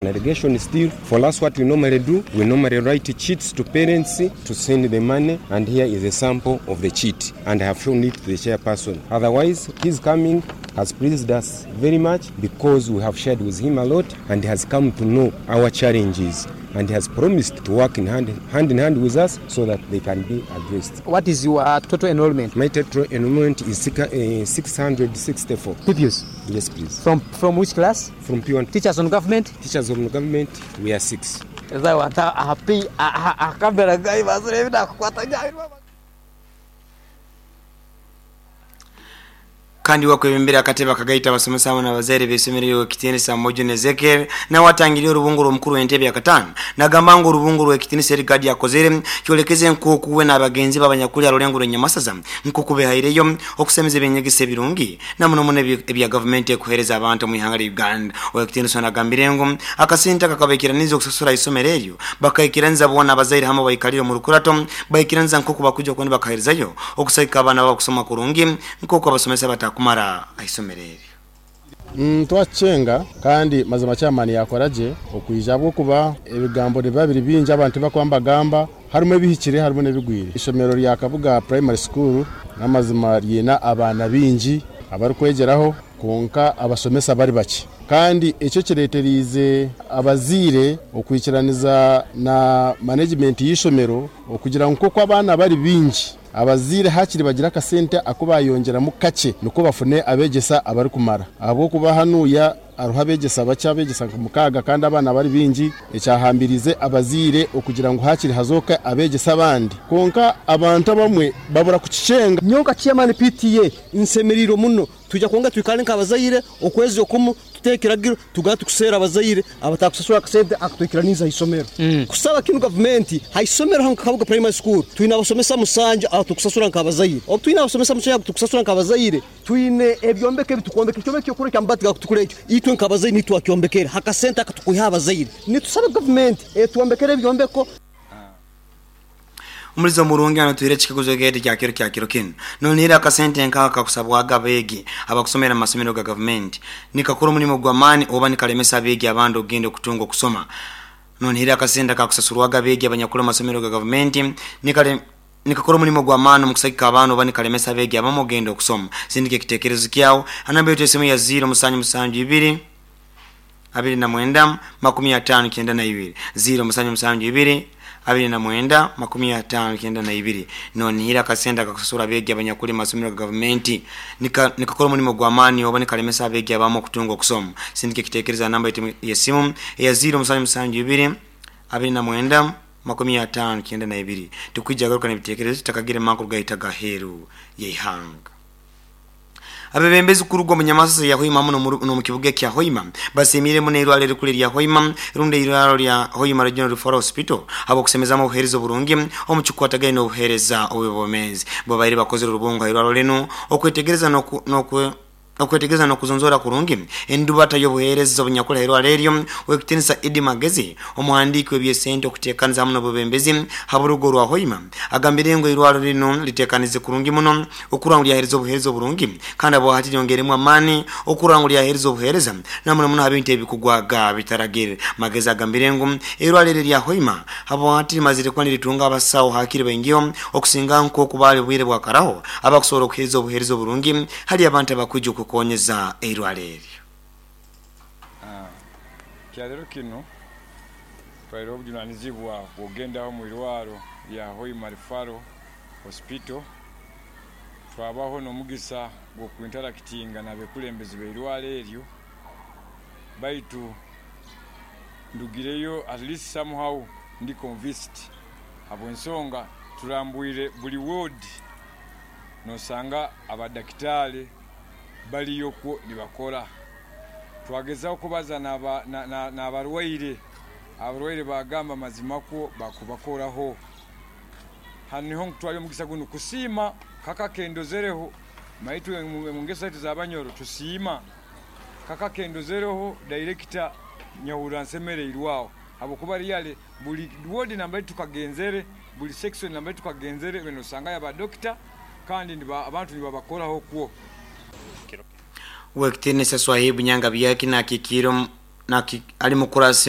Allegation still, for us what we normally do, we normally write cheats to parents to send the money, and here is a sample of the cheat, and I have shown it to the chairperson. Otherwise, his coming has pleased us very much because we have shared with him a lot, and he has come to know our challenges, and he has promised to work in hand in hand with us so that they can be addressed. What is your total enrollment? My total enrollment is 664. Pupils? Yes, please. From which class? From P1. Teachers on government? Teachers on government, we are 6. Kandi wakwebembera akatebe akagaita abasomesa hamwe n'abazaire b'isomero ry'ekitinisa Mojuni Ezekiel nawe atangiriye orubungo rw'omukuru w'entebe ya katano nagamba ngu orubungo rw'ekitinisa Erigadi yakozere kyolekeze nk'oku we n'abagenzi b'abanyakuli arulengo rw'Enyamasaza nk'oku behaireyo okusemeza eby'enyegesa ebirungi na muno muno ebya gavumenti ekuhereza abantu mu ihanga lya Uganda. Ow'ekitinisa nagambire ngu akasente akakabaikiraniza okusasura isomero eryo bakaikiraniza boona abazaire hamwe baikalire omu rukurato baikiraniza nk'oku bakuja okuba nibakaherezayo okusagika abaana babo kusoma kurungi nk'oku abasomesa batakumara aisomero eryo. Twachenga kandi mazima chairman yakoraje okuija bwo kuba ebigambo nibiba biri bingi abantu bakwamba gamba harimu ebihikire harimu n'ebigwire. Isomero rya Kabuga Primary School n'amazima ryina abaana bingi abarikwegeraho konka abasomesa bari bake, kandi ekyo kireeteriize abaziire okwikiraniza na management y'isomero okugira ngu nk'oku abaana bari bingi abaziire hakiri bagira akasente ako bayongyeramu kakye nikwo bafune abegyesa abarikumara, ahabw'okuba hanuya hariho abegyesa bakye abegyesa nka 6 kandi abaana bari bingi, ekyahambirize abaziire okugira ngu hakiri hazooka abegyesa abandi, konka abantu abamwe babura kukicenga. Nyonka chairman PTA nsemerire muno tujja kwonga twikale nk'abazaire okwezi okumu tuteekiragiro tugaba tukuseera abazaire abatakusasura akasente akatwikiraniza isomero. Kusaba kinu gavumenti haisomero hano Kabuga Primary School twine abasomesa 7 abatukusasura nk'abazaire. Obu twine abasomesa 7 abatukusasura nk'abazaire twine ebyombeko ebitukombeka ekyombeko kyokura kyamabati gakutukura ekyo itwe nk'abazaire nitwakyombekera hakasente akatukuha abazaire. Nitusaba gavumenti etwombekere ebyombeko. Omulizo omurungi anatwire ekikaguzo gete kya kiro kya kiro kinu nonihira akasente nkaka kakusabwaga abeegi abakusomera mu masomero ga gavumenti nikakora omulimo gw'amaani oba nikalemesa abeegi abandi okugenda okutunga okusoma. Nonihira akasente kakusasurwaga abeegi abanyakula mu masomero ga gavumenti nikakora omulimo gw'amaani omu kusagika abaana oba nikalemesa abeegi abamu okugenda okusoma. Sindika ekitekerezo kyawe anamba yetu esimu ya 0772 29 59 0772 29 59 nonihira akasente akakusasura abeegi abanyakuli mu masomero ga gavumenti nikakora omulimo gw'amaani oba nikalemesa abeegi abamu okutunga okusoma. Sindika ekitekerezo namba yetu y'esimu eya 0772 29 59 tukwija garuka n'ebitekerezo tutakagire makuru gahita gaheru y'eihanga. Abebembezi kurugwa mu Nyamasasa ya Hoima muno mu kibuga kya Hoima basimire muno irwaliro erikuru erya Hoima rundi irwaliro lya Hoima Regional Referral Hospital abo kusemezamu obuheereza oburungi omu kikwatagaine n'obuheereza obw'obwomeezi. Babaire bakozere orubungo ha irwaliro linu okwetegereza okwetegereza n'okuzonzora kurungi endubata y'obuheereza obunyakula irwaliro eryo. W'ekitinisa Idi Magezi omuhandiiki w'ebyesente okuteekaniza hamu n'obwebembezi ha burugo rwa Hoima agambire ngu irwaliro linu liteekanize kurungi muno okurora ngu lyaheereza obuheereza oburungi kandi abo hati lyongeremu amaani okurora ngu lyaheereza obuheereza na muno muno ha bintu ebikugwaga bitaragire. Magezi agambire ngu irwaliro erya Hoima abo hati limazire kuba niritunga abasawo hakiri baingiho okusinga nk'oku baali bwire bwakaraho abakusobora okuheereza obuheereza oburungi hali abantu abakwija okukonyeza eirwaliro eryo. Kyarero kino twaire obujunanizibwa bw'okugendaho mu irwaro lya Hoima Referral Hospital, twabaho n'omugisa gw'okuinterakitinga n'abekulembezi b'eirwaro eryo, baitu ndugireyo at least somehow ndi convinced habw'ensonga turambwire buli ward nosanga abadakitari baliyo kwo nibakora. Twagezaho kubaza n'abarwaire, abarwaire bagamba mazima kwo bakubakoraho. Hanu niho nkutwara omugisa gunu kusiima kaka kendozereho maitu mu ngeso zaitu z'abanyoro tusiima kaka kendozereho director nyahurra nsemereirwe habwokuba really buli ward nambere tukagenzere, buli section nambere tukagenzere nosanga aba doctor kandi abantu nibabakoraho kwo. W'ekitinisa Swahibu Nyanga Byaki nakikiro ali mukurasi.